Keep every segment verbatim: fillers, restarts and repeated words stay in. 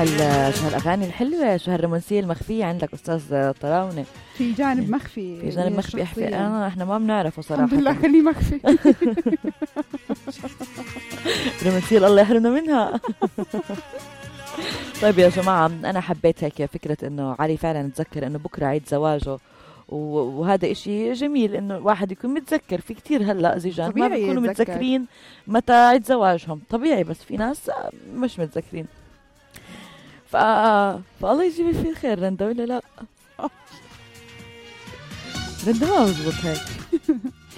هال شو هالاغاني الحلوه، شو هالرومانسيه المخفيه عندك استاذ طراونه. في جانب مخفي، في جانب مخفي احكي انا احنا ما بنعرفه صراحه. الحمد لله خليه مخفي. رومانسيه الله يحرمنا منها. طيب يا جماعه انا حبيت هيك فكره انه علي فعلا تذكر انه بكره عيد زواجه، وهذا إشي جميل إنه الواحد يكون متذكر. في كتير هلأ زيجان ما بيكونوا متذكرين متى عيد زواجهم، طبيعي، بس في ناس مش متذكرين. ف... فالله يجيب في الخير. رندا ولا لا؟ رندا ما بزبط هيك.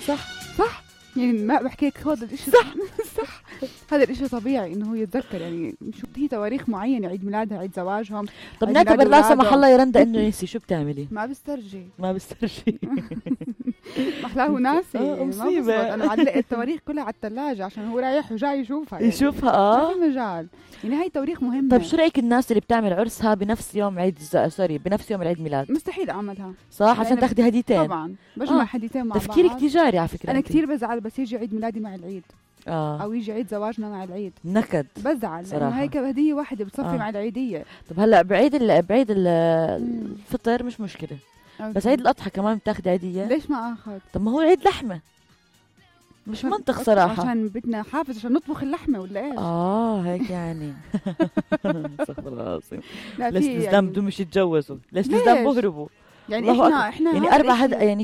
صح صح يعني ما بحكي لك هذا الإشي صح صح. هذا الإشي طبيعي إنه هو يتذكر، يعني شو هي تواريخ معينة، عيد ميلادها، عيد زواجهم. طب نعتبر لا سمح الله يا رندا إنه نسي، شو بتعملي؟ ما بسترجي ما بسترجي. محلاه ناسي. آه مصيبة. أنا علقت التواريخ كلها على الثلاجة عشان هو رايح وجاي يشوفها. يعني. يشوفها آه. ما في مجال. يعني هاي تواريخ مهمة. طيب شو رأيك الناس اللي بتعمل عرسها بنفس يوم عيد ز... سوري بنفس يوم العيد ميلاد؟ مستحيل أعملها. صح عشان تاخدي هديتين. طبعا بجمع آه. هديتين مع بعض. تفكيرك تجاري على فكرة. أنا انت. كتير بزعل بس يجي عيد ميلادي مع العيد. آه. أو يجي عيد زواجنا مع العيد. نكد. بزعل لأنه هيك هدية واحدة بتصفي آه. مع العيدية. طب هلا بعيد ال... بعيد ال... الفطر مش مشكلة. أوكي. بس عيد الأضحى كمان بتاخدي عيدية. ليش ما أخذ؟ طب ما هو عيد لحمة. مش منطق صراحة. عشان بدنا حافز عشان نطبخ اللحمة ولا إيش؟ آه هيك يعني. استغفر الله العظيم. لا ليش الإسلام بدهم مش يتجوزوا؟ ليش الإسلام بهربوا؟ يعني إحنا إحنا يعني أربع هد... يعني